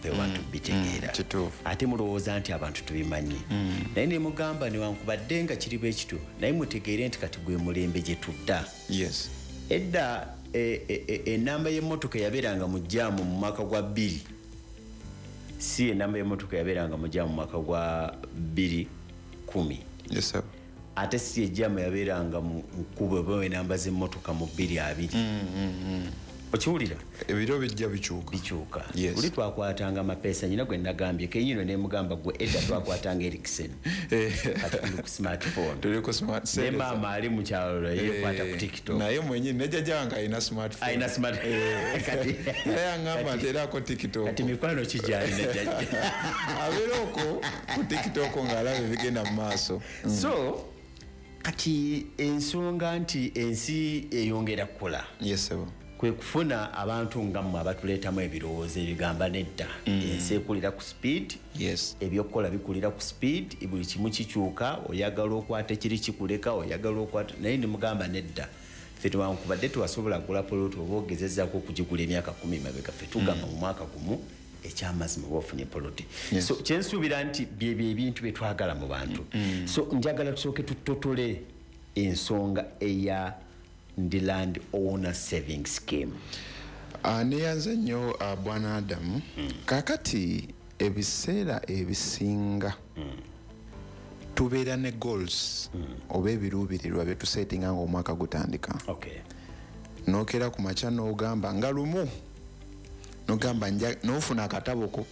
Abantu bitegeera. Ate mulowooza nti abantu tubimanyi, naye nemugamba newankubadde nga kiri bwe kityo, naye mutegeere nti kati gwe mulembe gye tudda. Edda enamba y'emmotoka yabeeranga mu jam mu mwaka gwa 2, si enamba y'emmotoka yabeeranga mu jam mu mwaka gwa 210. Yes sir. Ate si e jam yabeeranga mu kkubo oba enamba z'emmotoka mu 20. Okiwulira? Ebiro bijja bikyuka. Bikyuka. Luli twakwatanga amapeesa. Nyina gwe nagambye kenyino nemugamba, gwe edda twakwatanga Ericsson, kati tuli ku smartphone. Tuli ku smart. Ne maama ali mu kyalo yekwata ku TikTok. Naye mwenyini ne jjajja wange alina smartphone. Alina smart kati. Era yaŋŋamba nti erako TikTok. Kati mikwano kijali ne jjajja. Abeera okwo ku TikTok ng'alaba ebigenda mu maaso. So kati ensonga nti ensi eyongera kukula, Yes sir. kwe kufuna abantu nga mmwe abatuleetamu ebirowoozo ebigamba nedda, ensi ekulira ku speed, ebyokukola bikulira ku speed, buli kimu kikyuka. Oyagala okwata ekiri kikuleka, oyagala okwata, naye ndimugamba nedda, ffe tewankubadde tewasobola kugula poloti oba ogezezaako okugigula emyaka 10 mabega, ffe tugamba mu mwaka gumu ekyamazima oba ofunye poloti. So kyensuubira nti byebyo ebintu byetwagala mu bantu. So njagala tusooke tutotole ensonga eya the Land Owner Saving Scheme. Neyanze nnyo, bwana Adamu. Kakati ebiseera ebisinga tubeera ne goals oba ebiruubirirwa bye tusetinga nga omwaka gutandika. Nokeera ku makya n'ogamba nga lumu nogamba n'ofuna akatabo ko,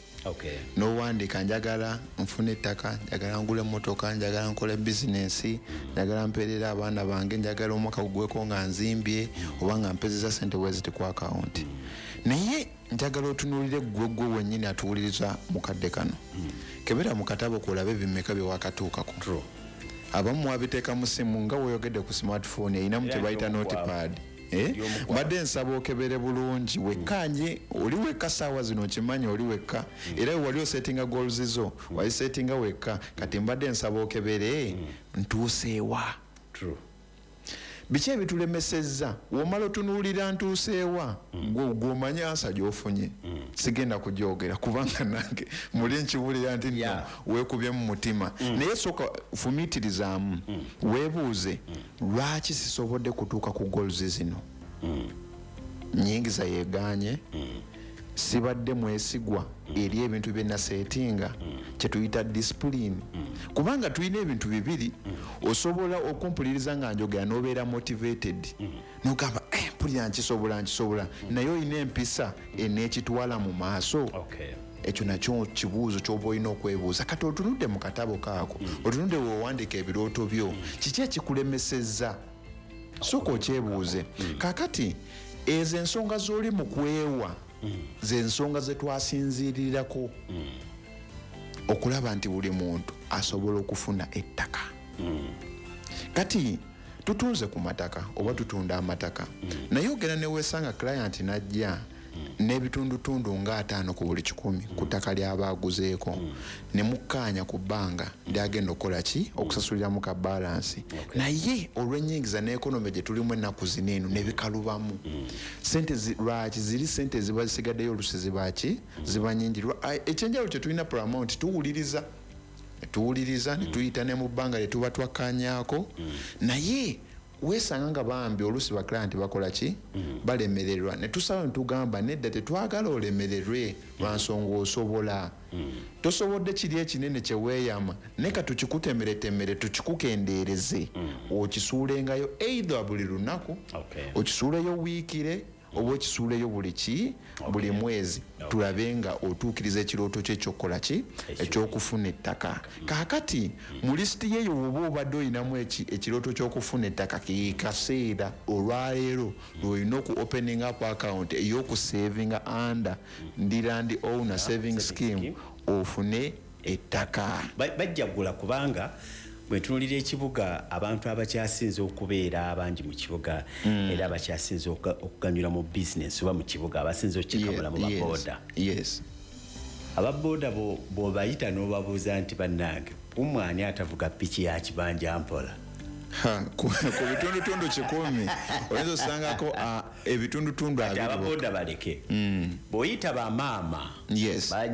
n'owandiika, njagala nfune ettaka, njagala ngule emmotoka, njagala nkole bizinensi, njagala mpeerera abaana bange, njagala omwaka gugweko nga nzimbye oba nga mpezeza sente bwe ziti ku akawunti. Naye njagala otunuulire ggwe ggwe wennyini atuwuliriza mu kadde kano, kebera mu katabo kolabe bimeka bye wakatuukako. Abamu mwabiteeka mu simu nga weeyogedde ku smartphone erinamu kye Era bayita ndi omu ku abo. notepad. Ndi omu ku abo. Mbadde nsaba okebere bulungi, wekkanye oli wekka saawa zino, okimanyi oli wekka, era wali osetinga goals zo, walisetinga wekka. Kati mbadde nsaba okebere, ntuuseewa? Biki ebitulemesezza? Womala otunuulira ntuuseewa, gw'omanyi answer gy'ofunye. Sigenda kugyogera kubanga nange muli nkiwulira nti nno weekubye mu mutima. Naye sooka fumiitirizaamu, weebuuze, lwaki sisobodde kutuuka ku goals zino? Nnyingiza yeegaanye, sibadde mwesigwa eri ebintu bye naseetinga, kye tuyita discipline. Kubanga tulina ebintu bibiri, osobola okumpuliriza nga njogera n'obeera motivated, n'ogamba, mpulira nkisobola, nkisobola, naye olina empisa eneekitwala mu maaso. Ekyo nakyo kibuuzo ky'oba olina okwebuuza. Kati otunudde mu katabo kaako, otunudde weowandiika ebirooto byo, kiki ekikulemesezza? Sooka okyebuuze. Kaakati ezo ensonga z'oli mu kwewa, ze nsonga ze twasinziirirako okulaba nti buli muntu asobola okufuna ettaka. Kati tutunze ku mataka oba tutunda amataka, naye ogenda ne weesanga client n'ajja n'ebitundutundu nga 50 ku buli 100 ku ttaka ly'aba aguzeeko, ne mukkaanya ku bbanga ly'agenda okukola ki, okusasuliramu ka balance. Naye olw'ennyingiza n'economy gye tulimu ennaku zino eno ne bikalubamu. Sente lwaki ziri sente ziba zisigaddeyo oluusi ziba ki? Ziba nnyingi. Ekyenjawulo kye tulina Paramount, tuwuliriza. Tuwuliriza ne tuyita ne mu bbanga lye tuba twakkaanyaako. Naye weesanga nga bambi oluusi ba client bakola ki? Balemererwa. Ne tusaba ne tugamba nedda, tetwagala olemererwe lwa nsonga osobola. Tosobodde kiri ekinene kye weeyama, naye ka tukikutemeretemere, tukikukendeereze, okisuulengayo either buli lunaku, okisuuleyo wiikire, oba okisuuleyo buli ki? Buli mwezi. Tulabe nga otuukiriza ekirooto kye ekyokukola ki? Ekyokufuna ettaka. Kaakati mu lisiti yeeyo bw'oba obadde olinamu ekirooto ky'okufuna ettaka, ke kaseera olwaleero lw'olina oku opening up account ey'okusavinga under Ndi Land Owner Saving Saving Scheme, Scheme. ofune ettaka. Bajja kugula, kubanga bwe ntunuulira ekibuga, abantu abakyasinze okubeera abangi mu kibuga era abakyasinze okuganyula mu bizinensi oba mu kibuga, abasinze okukikamula mu babooda. Ababooda bw'obayita n'obabuuza nti bannange, kumwe ani atavuga piki ya kibanja mpola? Ha, ku bitundutundu 100 oyinza osangako ebitundutundu Kati 20. ababoda baleke, bw'oyita bamaama Yes. bangi.